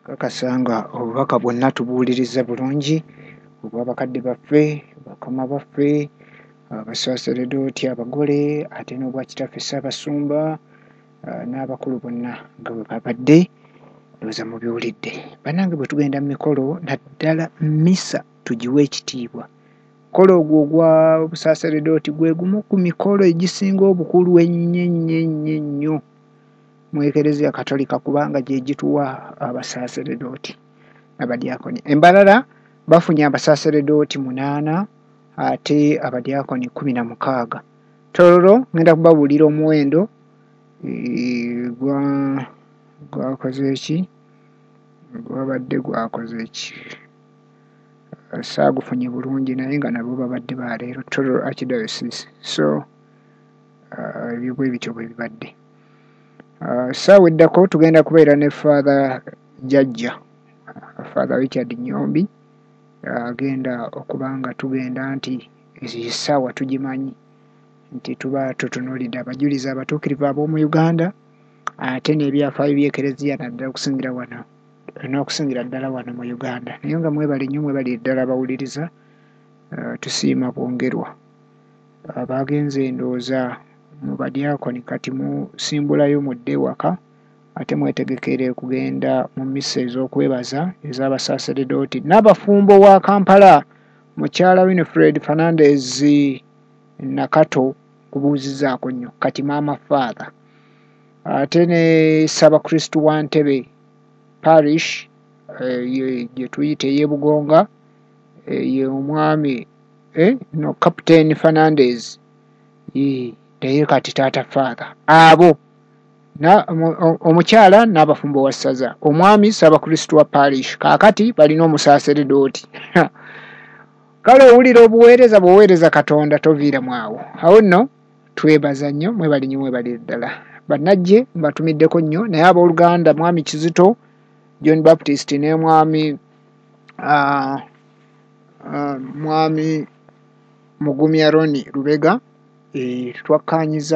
Kakasa nga obubaka bwonna tubuwulirizza bulungi obwa bakadde baffe, bakama baffe, abasaseredooti abagole ate n'obwa kitaffe Ssaabasumba n'abakulu bonna nga bwe babadde, ndowooza mubiwulidde. Bannange bwe tugenda mu mikolo naddala mmisa tugiwe ekitiibwa. Omukolo ogwo ogwa busaaseredooti gwe gumu ku mikolo egisinga obukulu ennyo ennyo ennyo ennyo mu Ekereziya Katolika kubanga gye gituwa abasaaseredooti n'abadyakoni. E Mbarara bafunye abasaaseredooti 8 ate abadyakoni 16. Tororo ngenda kubabuulira omuwendo gwakoze ki? Gwabadde gwakoze ki? Saagufunye bulungi naye nga nabo babadde ba leero Tororo Archdiocese. So ebyo bwe bityo bwe bibadde. Ssaawa eddako tugenda kubeera ne Father Jjajja, Father Richard Nnyombi agenda okuba nga tugenda nti essaawa tugimanyi nti tuba tutunuulidde abajulizi abatuukirivu ab'omu Uganda ate n'ebyafaayo by'Ekereziya naddala okusingira wano n'okusingira ddala wano mu Uganda. Naye nga mwebale nnyo mwebalire ddala abawuliriza, tusiima bwongerwa. Abagenze ndowooza mu badyakoni kati musimbulayo mudde ewaka ate mwetegekere okugenda mu mmisa ez'okwebaza ez'abasaaseredooti n'abafumbo wa Kampala mukyala Winifred Fernandez Nakato nkubuuzizzaako nnyo kati maama Father ate ne Ssaabakristu wa Ntebe Parish gye tuyita ey'e Bugonga ye omwami no Captain Fernandez naye kati taata Father abo omukyala n'abafumbo wa ssaza omwami Ssaabakristu wa Parish kaakati balina omusaaseredooti. Kale owulira obuweereza bw'oweereza Katonda toviiramu awo. Awo nno twebaza nnyo mwebale nnyo mwebalire ddala. Bannajje mbatumiddeko nnyo naye abooluganda mwami Kizito John Baptist ne mwami mwami Mugumya Ronnie Lubega twakkaanyiza